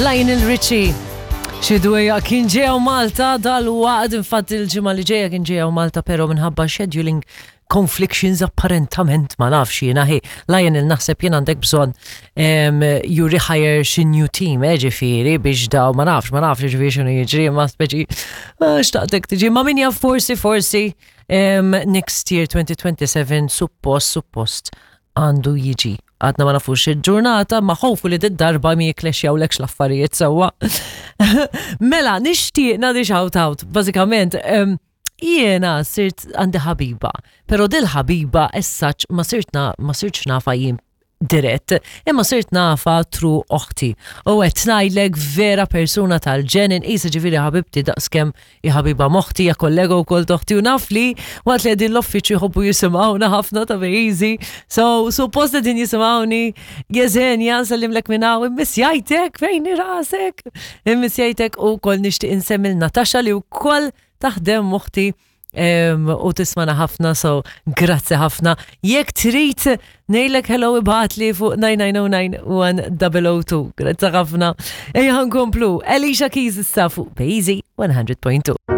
Lionel Richie. Xi dwejja kien ġew Malta dal-waqt infatti il-ġimgħa li ġejja kien ġew Malta però minħabba scheduling conflictions apparentament ma nafx jiena hi Lionel naħseb jien għandek bżonn you rehire xi new team eh, ġifieri biex daw ma nafx ma nafx ġifieri x'inhu jiġri ma speċi ah, xtaqtek tiġi ma min jaf forsi forsi next year 2027 suppost suppost għandu jiġi. Għadna ma nafux il-ġurnata, ma ħofu li d-darba mi jiklexjawlekx l-affarijiet sewwa. Mela, nixtieq nagħti shout out, bażikament, jiena sirt għandi ħabiba, pero dil-ħabiba essaċ ma sirt ma sirtx nafa jien dirett, imma sirt nafa tru oħti. U qed ngħidlek vera persuna tal-ġen inqisha ġifieri ħabibti daqskemm hi ħabiba m'oħti, hija kollega wkoll t'oħti u naf li waqt li qegħdin l-uffiċċju jħobbu jisimgħuna ħafna ta' Easy. So, suppost qegħdin jisimgħuni Jeżenja, nsellimlek minn hawn, immissjajtek fejn rasek. Immissjajtek u wkoll nixtieq insemmi l Natasha li wkoll taħdem m'oħti u tismana ħafna, so grazzi ħafna. Jekk trid ngħidlek hello ibgħatli fuq 9909 1002. Grazzi ħafna. Ejja nkomplu. Alicia Keys issa fuq Bejzi 100.2.